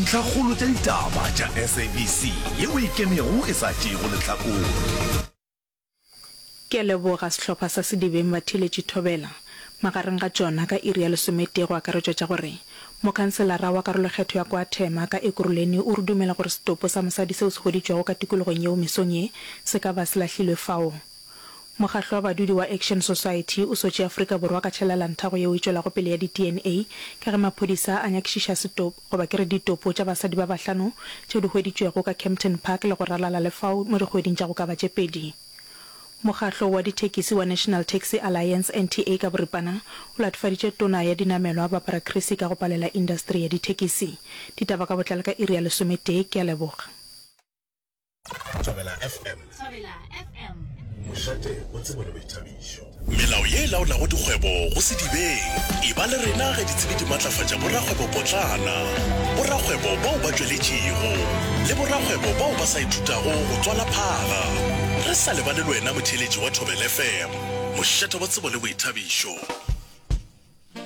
Dintlhakgolo tša ditaba tša SABC yeo e ikemego e sa tšeego lehlakore. Ke a leboga sehlopha sa Sedibeng Batheeletši Thobela. Magareng ga tšona ka iri ya lesometee go akaretšwa tša gore mokhanselara wa karolokgetho ya Kwa-Thema ka Ekurhuleni o re dumela gore setopo sa mosadi seo se hweditšwego ka tikologong yeo mesong ye se ka ba se lahlilwe fao. Mokgahlo wa badudi wa Action Society o sotše Afrika Borwa ka tšhelelantago yeo e tšwelago pele ya di-DNA ka ge maphodisa a nyakišiša setopo goba ke re ditopo tša basadi ba bahlano tšeo di hweditšwego ka Kempton Park le go ralala le fao mo dikgweding tša go ka ba tše pedi. Mokgahlo wa dithekisi wa National Taxi Alliance, NTA, ka boripana, o latofaditše Tona ya Dinamelwa Barbara Creecy ka go palela indasteri ya dithekisi. Ditaba ka botlalo ka iri ya lesometee. Ke a leboga. Thobela FM. Thobela FM. Mošate wa tsebo le boithabišo. Melao ye e laolago dikgwebo go Sedibeng. Eba le rena ge ditsebi di matlafatša borakgwebopotlana, borakgwebo bao ba tšweletšego, le borakgwebo bao ba sa ithutago go tswala phaga. Re sa lebale le wena motheeletši wa Thobela FM. Mošate wa tsebo le boithabišo.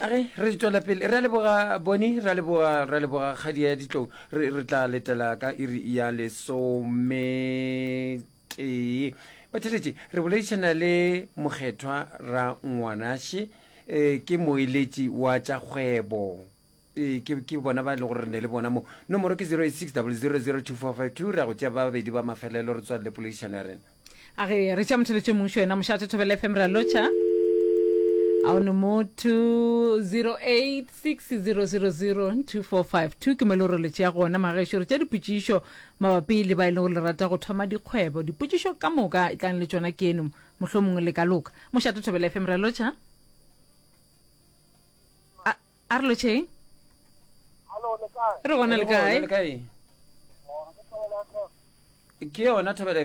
A ge re tšwela pele, re a leboga Boni, re a leboga, re a leboga kgadi ya ditlou. Re, re tla letela ka iri ya lesometee. Batheeletši, re boledišana le Mokgethwa Rangwanashe, eh, ke moeletši wa tša kgwebo. Eh, ke, ke bona ba e lego gore re ne le bona mo. Nomoro ke 086 000 2452. Re ya go tšea ba babedi ba mafelelo re tswalele poledišano ya rena. A re re tša motheletše mmušo yena mošate Thobela FM re a lotšha. A o ne motho 0860002452 ke mo e le gore le tšea gona magešo re tša dipotšišo mabapi le ba e leng gore le rata go thoma dikgwebo dipotšišo ka moka e tlang le tšona ke eno mohlomongwe le ka loka mošate Thobela FM re a lotšha a a re lotšheng re gona le kae Ke yona Thobela.